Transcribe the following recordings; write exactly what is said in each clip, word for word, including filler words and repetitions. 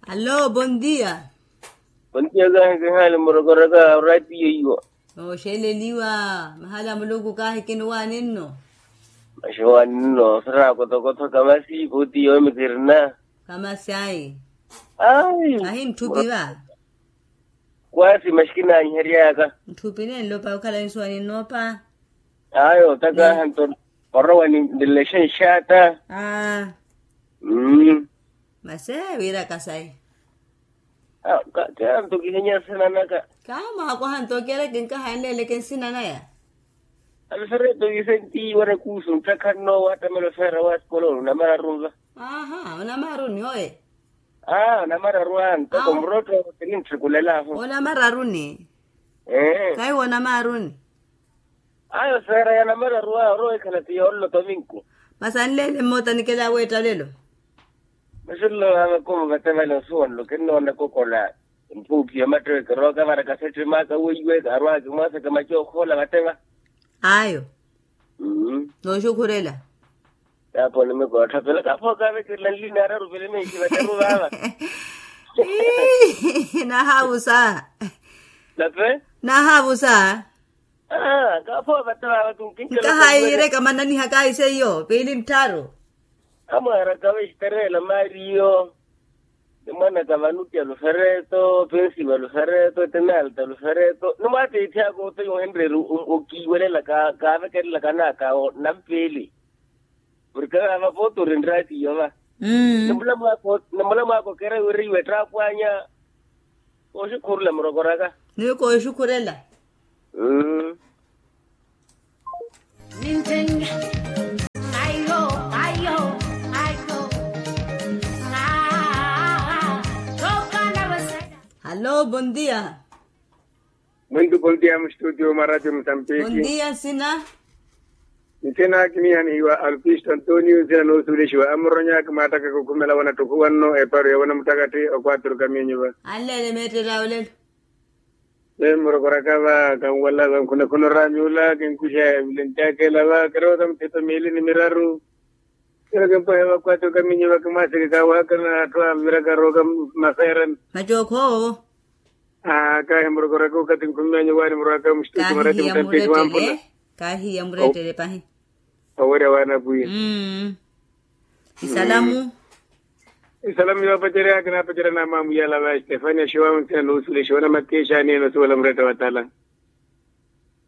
Allo, bondia. Bondia kahi kihali murokoraka oratiyo iwo. Oxeleliwa. Mahala muluku kahi kiniwaninno. Maxiwaninno sira kotokotho kamasi koti yomi kirina. Kamasi ayi. Ayi. Ahi ntthupi va. Kwasi maxi kinanyiheryaka. Ntthupi nenlopa okhala nsuwani nnoopa. Ayo takaha nto orowa ni nlelexenxata. Mmm. Masi wiiraka sayi. Kaanto kihenya nsina naka. Kaamwakoha nto kereke nkaha nleleke nsina naya. Alfereto isentiyi warakusu nttakha nno waattamela ofeera wa sikolo onamararu nva. Aha onamararu ni oye. Aa onamararu a ntoko murotto. Kinitthikulelaho onamararu ni. Ee kahiwo onamararu ni. Ayo feera ya namararu a orowa ekhala ti yoollo tominku. Masi anleele mmoota nikela aweetta olelo. Masi nlowa makumu vatevale osuwanlo kinnoona kokola. Mpuukhi ya mattewe kirooka vara kasettimaka weiwe kaarwaka kimwaasaka macookhola vateva. Ayo. Nooxukhurela. Kaapho onimikootthapela kaapho kaavekerela nlini araru vili minki vateru vaava. Nahaavusa. Nape. Nahaavusa. Kaapho vateru vaava. Nkahayiireka mananihaka ahi seiyo piili nttharu. Amwaaraka vexiterela maariyo. Nimwanaka vanuti alufereto pensiva alufereto tenalta alufereto nimwaatiithi aka oteya ohenreeri. Okiiwelela kaavekerelaka naka nampiili. Porke vaava pooti orinratiyo va. Nimula mwaako okereya wira iwe ettaakwanya. Kooxikhurula murokoraka. Niwe kooxikhurela. Hallo bondia. Mwintu bondia mustudio mwa ratio musambiki. Bondia nsina. Nsina kinihanihiwa alpisto antonio nsina noosuulexiwa amuronyaka mwaattakaka okhumela wanatthukuwa nno eparu ya wanamuttakathi okwatturuka miinyu va. Anleele meetterya olelo. Meemurokoraka va kanwala va nkhunakhuna oraamyula kinkuxa evulentyakeela va kiroota mutheto miili ni miraru. Kiro kimpwehe va kwaati okaminyi va kimwaaseke kaawahakana atthu aviraka arooka. Maferan. Macookho. Aa kaahi murokoraka okathi nkhumimanyi waani murowaka muxitutu marati mutapiki wampula. Kaahiya murettele pahi. Owerya waana apwiya. Isalamu. Isalamu yoopacerya kinaapacerya naamwamuyala va estefania xiwamu nthina nuusulexiwa na mattiya exaani ene osuwela muretta wa tala.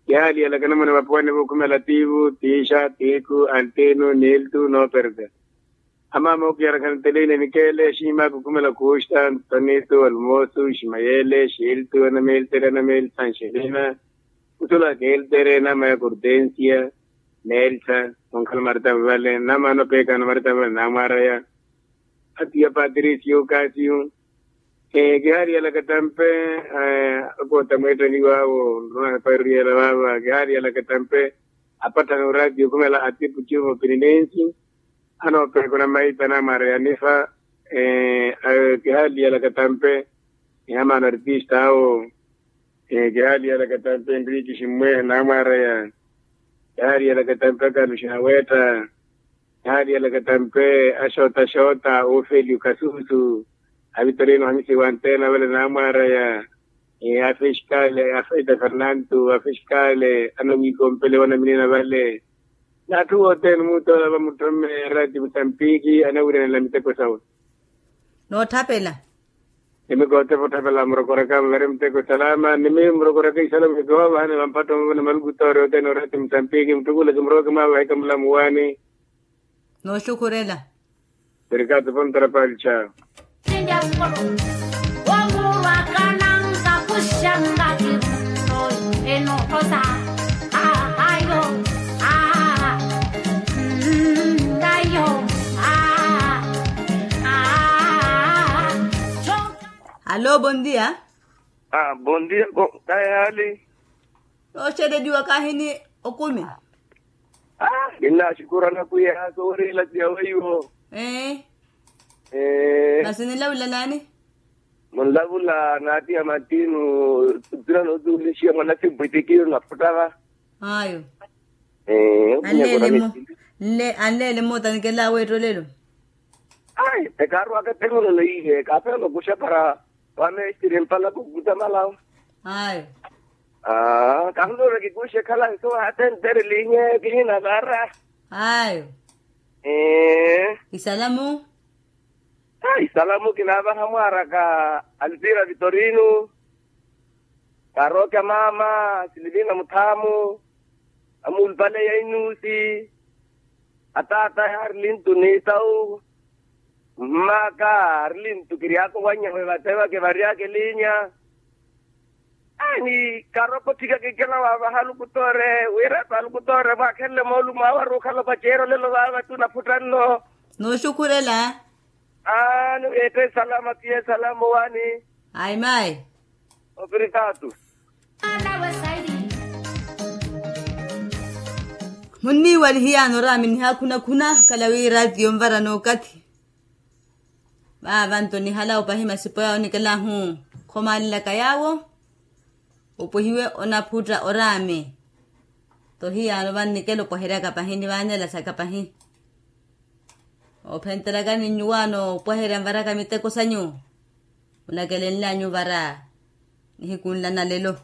Kihaaliyalaka namuna vapuwani vookhumela tiivu tiixa tiikhu antinu niiltu nooperta. Amaama okiyarakha nteleyini nikeele xiimaka okhumela khuuxta ntonitu almoosu ximayele xiiltu anameeltere anameelsa nxelina. Khusulaka eltere naamaya kortensia. Neelsa. Onkhala maritava vale naamana opeekana maritava vale naamwaraya. Atiya patricio kasiyu. Kihaariyalaka tampe akoota mweetteliwaawo nruna hepairuriyela vaava kihaariyalaka tampe. Apatthana oratiyo okhumela atipu tiyo moopininensi. Anoopeekana maita naamwaraya nifa. Kihaariyalaka tampe. Amaana artista awo. Kihaariyalaka tampe enrique ximmwehe naamwaraya. Kihaariyalaka tampe akaluxi naweetta. Kihaariyalaka tampe axoota axoota ofeliu kasusu. Avitorino hamisi wanteena vale naamwaraya. Afixkale afeita fernanto afixkale anawiikompele wanaminina vale. N'atthu wothene omutola vamutthome rati musambiki anawiryanela miteko sawe. Nootthapela. Nimi kootepa otthapela murokoraka muvere miteko salama nimi murokoraka isalamu ekihoovahane vampatto muvene maluku toori othene orati musambiki mutthukula kimurooke mwaavahika mulamu waani. Nooxukhurela. Perikato pontra palcha. Allo bondia. Bondia. Kayi haali? Nooxeleliwa kaahini okumi. Kinnaaxukurana pwiya sooriila tiya weiwo. Masi nilavula naani? Munlavula naatiya matinu. Tuna nootuulixiya mwanasimpwitikiyo naputtava. Ayo. Anleele mmoota nikela aweetta olelo. Ai, ekaarwaka etehuno neiye kaapela okuxa para wamestiri empalaku kutamalawo. Ayo. Aa kahunuura kikuxa ekhala nsuwa hatentere liinye kihina vara. Ayo. Ee. Isalamu. Ai salamu kinaavaha mwaaraka, alvira vitorino, karookya maama, silivina muthaamu, amuulupale ya inuusi, ataata yaari lintu niitawu, mmaaka aari lintu kiryaka owanyawe vathevake varyaka elinya. Aani karopa otthika kinkela waavaha alukutoore wira eto alukutoore mwaakhenle moolumo awe ari okhala opaceeri olelo vaava tu naphutta nno. Nooxukhurela. Aani weetta esalama piya esalama owaani. Ayi mayi. Opiritaatu. Munniiwalihiyaani oraami nihaakhuna-khuna okhala wi raatiyo onvara n'okathi. Vaava nto nihalawo pahi masipo yaawo onikelahu. Khomaalelaka yaawo opwehiwe onaphutta oraami. Tho hiyaano vannikela opweheryaka pahi nivaanela saka pahi. Oophentelakani nyuwaano opweherya nvaraka miteko sanyu. Munakelenlyanyu vara nihikunla na lelo.